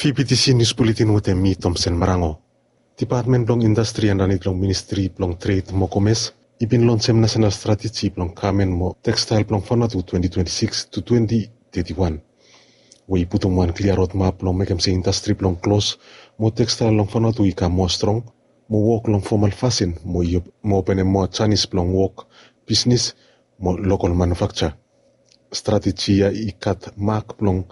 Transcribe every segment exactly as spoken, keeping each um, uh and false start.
Fibitisi nius buletin wetem mi Tomsen Marango. Dipatmen blong indastri andanit long ministri blong tred mo komes i bin lonsem nasenal strateji blong kamen mo tekstael blong Vanuatu twenti twenti sikis tu twenti teti wan, we i putum wan klia rodmap blong mekem se indastri blong klos mo tekstael long Vanuatu i kam moa strong, mo wok long fomal fasin mo i op- mo openem moa janis blong wok, bisnis mo lokol manufakja. Strateji ya i gat mak blong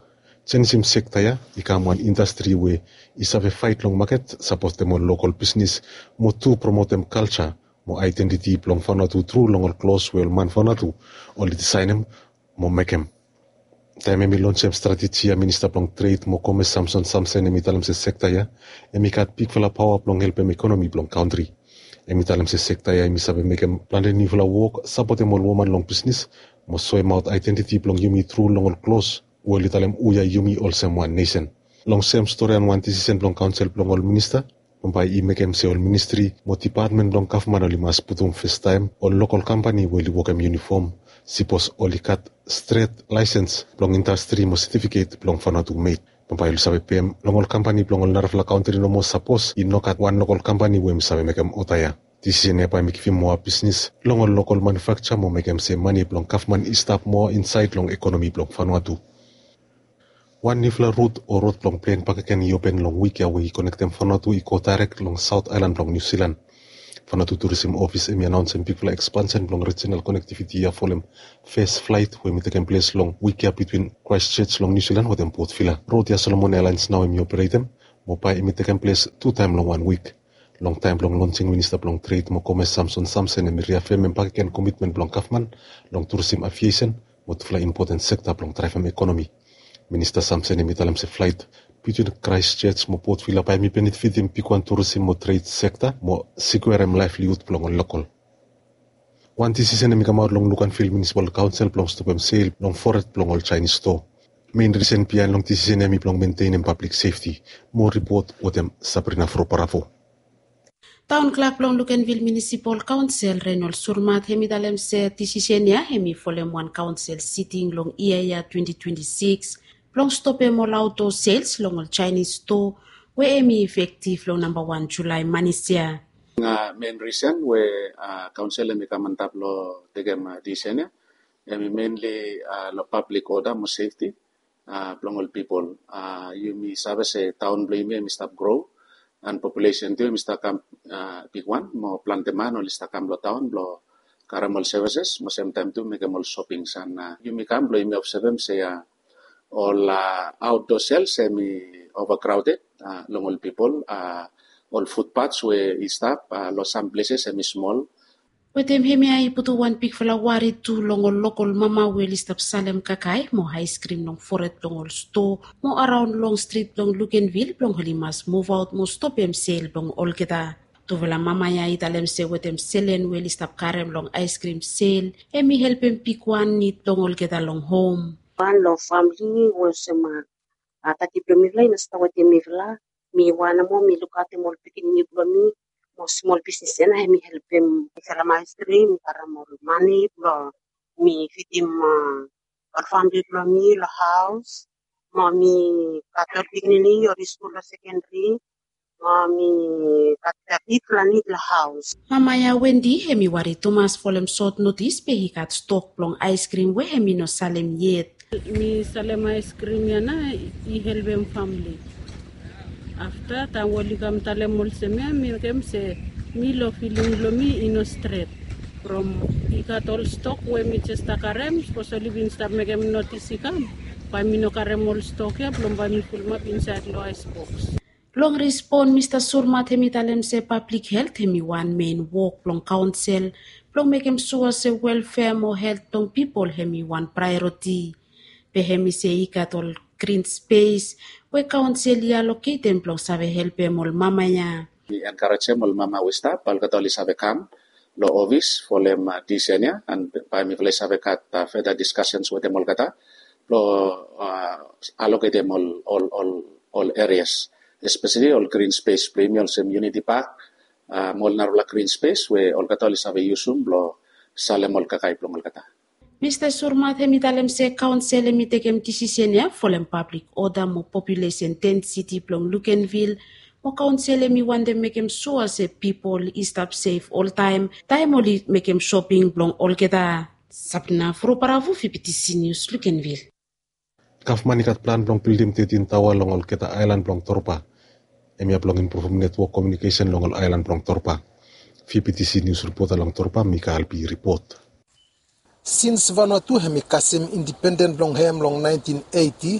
jenisim sekta ya i kam wan indastri we i save faet long maket, sapotem ol lokol bisnis, mo tu promotem kalja mo aedentiti blong Vanuatu tru long ol klos we ol man Vanuatu oli disaenem mo mekem. Taem hem i lonsem strateji ya, minista blong tred mo komes Samson Samsen hem i talem se sekta ya hem i gat bigfala paoa blong helpem ekonomi blong kantri. Hem i talem se sekta ya hem i save mekem plante niufala wok, sapotem ol woman long bisnis, mo soemaot aedentiti blong yumi tru long ol klos we oli talem hu ya yumi olsem wan nesen. Long sem storian wan disisen blong kaonsel blong ol minista, bambae i mekem se ol ministri mo dipatmen blong gavman oli mas putum fastaem ol lokol kampani we oli wokem yunifom, sipos oli gat stret laesens blong indastri mo setifiket blong Vanuatu med. Bambae oli save pem long ol kampani blong ol narafala kantri nomo sapos i no gat wan lokol kampani we hem i save mekem oda ya. Disisen ya bae hem i givim moa bisnis long ol lokol manufakja mo mekem se mane blong gavman i stap moa insaed long ekonomi blong Vanuatu. Wan niufala rut o rod blong plen bakegen i open long wik ya we i konektem Vanuatu i go daerek long Saot Aelan blong Niu Silan. Vanuatu Turisim Ofis hem i anaonsem bigfala ekspansen blong rijinal konektiviti ya folem fes flaet we hem i tekem ples long wik ya bitwin Kraestjoj long Niu Silan wetem Potvila. Rod ya Solomon Airlines nao hem i operetem, mo bae hem i tekem ples tu taem long wan wik. Long taem blong lonsing, minista blong tred mo komes Samson Samsen hem i riafemem bakegen komitmen blong gavman long turisim, aviesen mo tufala impoten sekta blong draevem ekonomi. Minista Samsen hem i talem se flaet bitwin Kraestjoj mo Potvila bae hem i benefitim bigwan turisim mo tred sekta mo sikuerem laevlihud blong ol lokol. Wan disisen hem i kamaot long Luganville Munisipal Kaonsel blong stopem sel long foret blong ol Jaenis stoa. Men risen biaen long disisen ya hem i blong mentenem pablik sefti. Moa ripot wetem Sabrina Froparafo. Taon klak blong Luganville Munisipal Kaonsel Reynold Surmat hem i talem se disisen ya hem i folem wan kaonsel siting long yia ya twenti twenti sikis blong stopem ol aotdoa sels long ol Jaenis stoa, we hem i ifektiv long namba wan Julae manis ya. Men risen we kaonsel hem i kam antap long tekem disisen ya hem i menli long pablik oda mo sefti blong ol pipol. Yumi save se taon blong yumi hem i stap gro, an populesen tu hem i stap kam bigwan mo plante man oli stap kam long taon blong karem ol sevises mo semtaem tu mekem ol sopings. An yumi kam blong yumi obsevem se ol aotdoa sels hem i ovakraoded long ol pipol. Ol futpats we i stap long sam pleses hem i smol. Wetem hemia i putum wan bigfala wari tu long ol lokol mama we oli stap salem kakae mo aeskrim long foret blong ol stoa mo araon long strit blong Luganville blong oli mas muvaot mo stopem sel blong olgeta. Tufala mama ya i talem se wetem selen we oli stap karem long aeskrim sel, hem i helpem bigwan nid blong olgeta long hom. Wan long famle we olsem tati blong mifala i no stap wetem mifala. Mi wan nomo mi lukaotem ol pikinini blong mi mo smol bisnis ya na hem i helpem mi salem aeskrim, mi karem ol mane blong mi fidim ol famle blong mi long haos. Mo mi gat ol pikinini oli skul long sekendri. Mo mi gat bigfala nid long haos. Mama ya Wendi hem i wari tumas folem sot notis be i gat stok blong aeskrim we hem i no salem yet. Mi salem aeskrim ya na i helpem famle. Afta taem we oli kam talem olsem ya mi mekem se mi long filing blong mi i no stret. From i gat ol stok we mi jes stap karem sapos oli bin stap mekem notis i kam, bae mi no karem ol stok ya blong bae mi fulumap insaed long aesboks. Long rispon, Mista Surmat hem i talem se pablik helt hem i wan men wok blong kaonsel blong mekem sua se welfea mo helt blong pipol hem i wan praeoriti. Be hem i se i gat ol grin spes we kaonsel i aloketem blong save helpem ol mama ya. Mi enkarejem ol mama we i stap, bae olgeta oli save kam long ofis folem disisen ya, an bae mifala i save gat feta diskasens wetem olgeta blong aloketem ol ol ol ol erias, espeseli ol grin spes blong yumi olsem Unity Pak mo ol narafala grin spes we olgeta oli save yusum blong salem ol kakae blong olgeta. Mista Surmat hem i talem se kaonsel hem i tekem disisen ya folem pablik oda mo populesen densiti blong Lukenvil, mo kaonsel hem i wantem mekem sua se pipol i stap sef oltaem taem oli mekem soping blong olgeta. Sabina Furuparavu, Fibitisi Nius, Lukenvil. Gavman i gat plan blong bildim tetin taoa long olgeta aelan blong Torba. Hemia blong impruvum netwok komiunikesen long ol aelan blong Torba. Fibitisi Nius ripota long Torba, Mika Albi ripot. Sins Vanuatu hem i kasem indipenden blong hem long naentin eiti,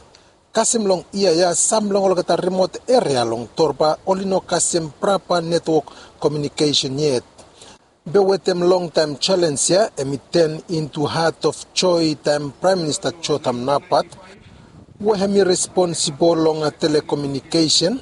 kasem long yia ya sam long olgeta rimot eria long Torba oli no kasem prapa netwok komiunikesen yet. Be wetem longtaem selens ya hem i ten intu hat of joe taem Praem Minista Jotham Napat, we hem i responsibol long telekomiunikesen,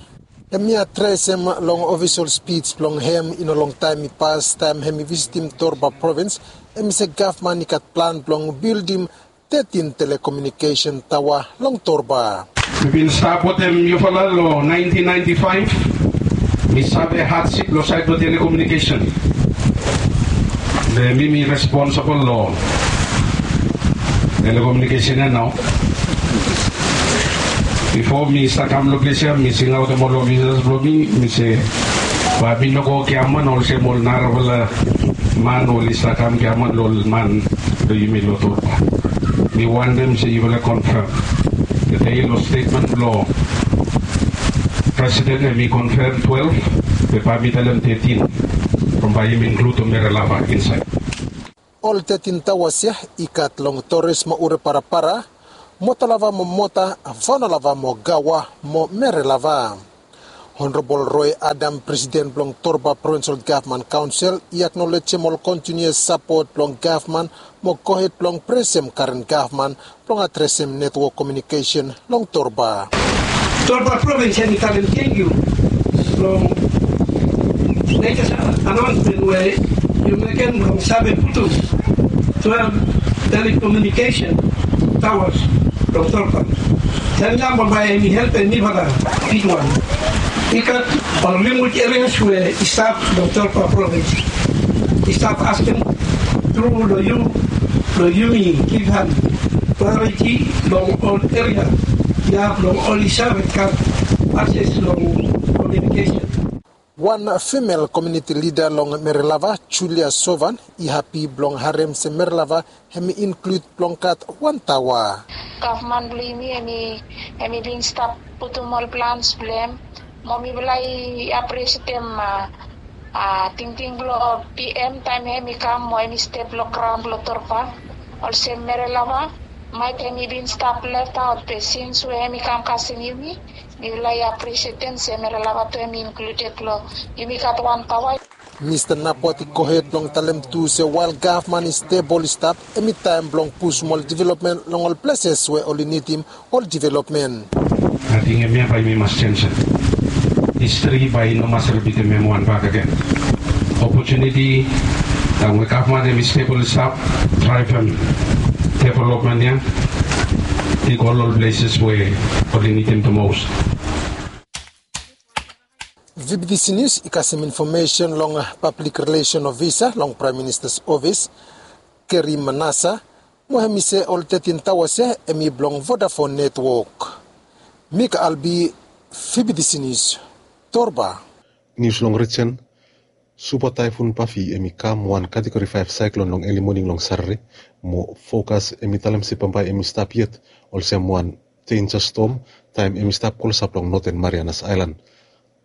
hem i adresem long ofisol spij blong hem i no longtaem i pas taem hem i visitim Torba provins, hem i se gavman i gat plan blong bildim tetin telekomiunikesen taoa long Torba. Mi bin stap wetem yufala long naentin naenti faef. Mi save hadsip long saed blong telekomiunikesen. Be mi mi responsibol long telekomiunikesen ya nao. Bifo mi stap kam long ples ya mi singaotem ol ofisas blong mi, mi se bae mi no go giaman olsem ol narafala man oli stap kam giaman long ol man blong yumi long Torba. Mi wantem se yufala konfem. Tede long stetmen blong presiden hem i konfem twelef, be bae mi talem tetin, from bae yumi inkludim Merelava insaed. Ol tetin taoas ya i gat long Toris mo Ure Parapara, Motolava mo Mota, Vaunalava mo Gaua mo Merelava. Honorabol Roe Adam, presiden blong Torba Provinsol Gavman Kaonsel, i aknolejem ol kontiniuas sapot blong gavman mo gohed blong presem karen gavman blong adresem netwok komiunikesen long Torba. Torba provins hem i talem tangkiu long latest anaonsmen we yu mekem blong save putum twelef telekomiunikesen taoas long Torba. Taem ya bambae hem i helpem mifala bigwan. I gat ol rimot erias we i stap long Torba provins. I stap askem tru long yu blong yumi givhan praeoriti long ol eria ya blong oli save gat akses long komiunikesen. Wan fimel komiuniti lida long Merelava, Julia Sovan, i hapi blong harem se Merelava hem i inklud blong gat wan taoa. Gavman blong yumi hem i hem i bin stap putum ol plans blong hem. Mo mifala i aprisietem a tingting blong P M taem hem i kam mo hem i step long graon blong Torba. Olsem Merelava maet hem i bin stap leftaot, be sins we hem i kam kasem yumi, mifala i aprisietem se Merelava tu hem i inkluded blong yumi gat wan taoa. Mista Napot i gohed blong talem tu se wael gavman i step oli stap, hem i taem blong pusum ol developmen long ol pleses we oli nidim ol developmen. Ating hemia bae yumi mas jenjem. Histri bae i no mas ripitim hem wan bakegen. Opotuniti taem we gavman hem i step oli stap draevem developmen ya i go long ol pleses we oli nidim the most. V B T C News i kasem infomesen long pablik rilesen ofisa long Praem Minista's ofis, Gary Manassa, mo hem i se ol tetin taoas ya hem i blong Vodafone netwok. Mika Albi, V B T C News, Torba. Nius long rijen. Supa Taefun Pafi hem i kam wan kategori faef saeklon long eli moning long Satade, mo fokas hem i talem se bambae hem i stap yet olsem wan denja stom taem hem i stap klosap long Noten Marianas Aelan.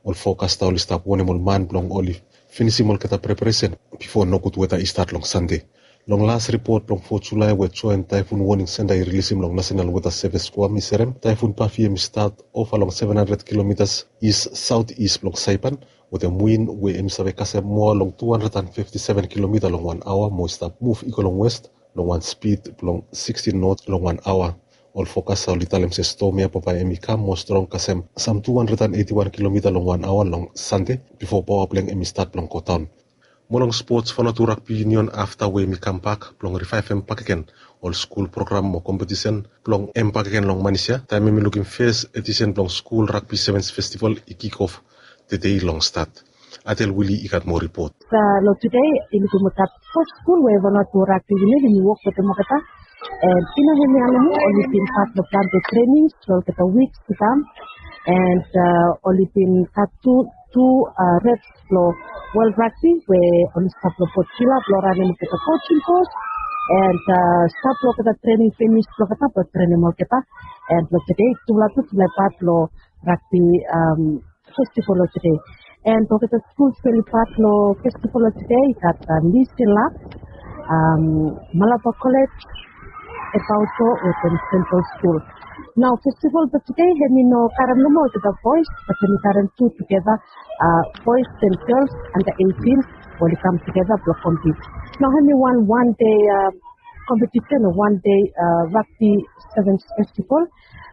Ol fokasta oli stap wonem ol man blong oli finisim olgeta preparesen bifo nogud weta i stat long Sande. Long las ripot blong fo Julae we Joen Taefun Woning Senta i rilisim long Nasenal Weta Sevis, Guam, i serem, Taefun Pafi hem i stat ova long seven hundred kilomitas is saotis blong Saipan, wetem win we hem i save kasem moa long two hundred and fifty seven kilomita long wan aoa mo i stap muv i go long west long wan spid blong sixteen knots long wan aoa. Ol fokasta oli talem se stom ya bambae hem i kam moa strong kasem sam two hundred and eighty one kilomita long wan aoa long Sande bifo paoa blong hem i stat blong godaon. Mo long spots, Vanuatu Rugby Union afta we hem i kambak blong rivaevem bakegen ol skul program mo kompetisen blong hem bakegen long Manis ya taem hem i lukim fes edisen blong skul ragbi sevens festival i kikof tede long stat. Adel Wili i gat moa ripot. Long tude i lukim olgeta fo skul we Vanuatu Rugby Union hem i wok wetem olgeta And i no hemi ya nomo, oli bin gat long plante trening long olgeta wiks i kam. And oli bin gat tu tu reps long World Rugby we oli stap long Port Vila blong ranem olgeta coaching course. And stap long olgeta trening finis blong olgeta blong trenem olgeta. And long tede tufala tu tufala i pat long rugby festival long tede. And olgeta skuls we oli pat long festival long tede i gat Lee Hsien Loong, Malabar College, Ebaoto wetem Central Skul. Nao festival blong tede hemi no karem nomo olgeta boys, bat hemi karem tu tugeta boys and girls anda eitin we oli kam tugeta blong kompit. Nao hemi wan wan dei kompetisen o wan dei rugby sevens festival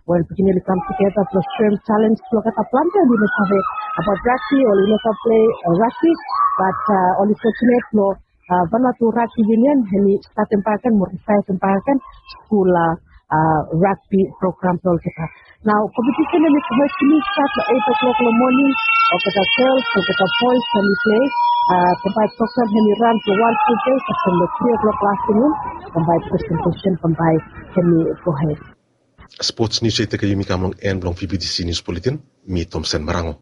we ol pikinini oli kam tugeta blong soem talens blong olgeta. Plante oli no save abaot rugby, oli no save pilei rugby, bat oli fojunet blong Vanuatu Rugby Union hemi statem bakegen mo rivaevem bakegen skul rugby program blong olgeta. Nao kompetisen hemi save pinis stat long eit o'klok long moning. Olgeta gels, olgeta boes hemi pilei. Bambae program hemi ran blong wan ful dei, kasem long tri o'klok long aftanun. Bambae presentation bambae hemi gohed. Spots nius ya i tekem yumi kam long en blong VBTC Nius Buletin. Mi Tomsen Marango.